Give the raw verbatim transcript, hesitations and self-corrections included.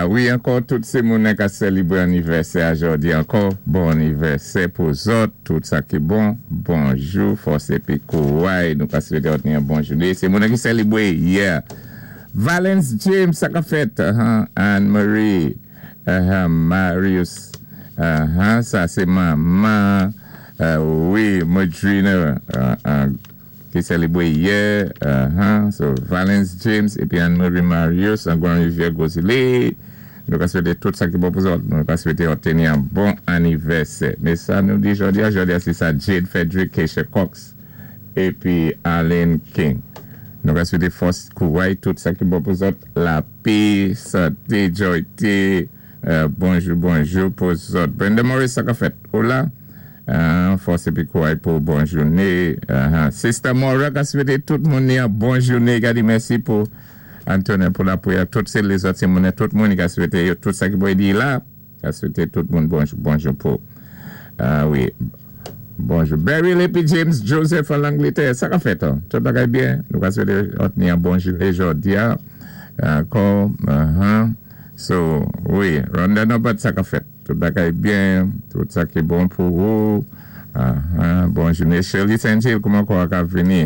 Wi, ankò tout sé moun ka sélébwé anivèsè jòdi ankò. Bon anivèsè pou zòt, tout sa ki bon. Bonjou, fòs épi kouway. Nou ka swété yon bon jouné. Sé moun ki sélébwé, yeah. Valence James, sa ka fèt. Uh-huh. Anne-Marie, uh-huh. Marius, uh-huh. Sa sé manman. Uh, wi, Madrina, uh, uh, ki sélébwé yè. Uh-huh. So, Valence James épi Anne-Marie Marius, an Grand Rivière Gros Islet. Nou ka swété tout sa ki bon pou zòt. Nou ka swété obteni yon bon anivèsè. Mé sa nou di jòdi a, jòdi a sé sa Jade Frederick, Keisha Cox épi Arlene King. Nou ka swété fòs kouway, tout sa ki bon pou zòt. Lapè, santé, joyté, euh, bonjou, bonjou pou zòt. Brenda Morris, sa ka fèt. Hola. Uh, fòs épi kouway pou bon jouné. Uh, Sister Maura ka swété tout moun yon bon jouné. Gadi mèsi pou Antonio pou lapriyè. Tout sé lézòt sé moun, tout moun ka swété tout sa ki bon di la. Ka swété tout moun bonjou, bonjou pou. Uh, wi. Bonjou. Beryl épi James Joseph an Langlétè. Sa ka fèt, hein? Tout bagay byen. Nou ka swété yon bon jouné jòdi a. Ankò. Uh-huh. So, wi. Rhonda Norbert, sa ka fèt. Tout bagay byen. Tout sa ki bon pou ou. Uh-huh. Bon jouné. Shirley Saint-Gilles, kouman kwa ka vini?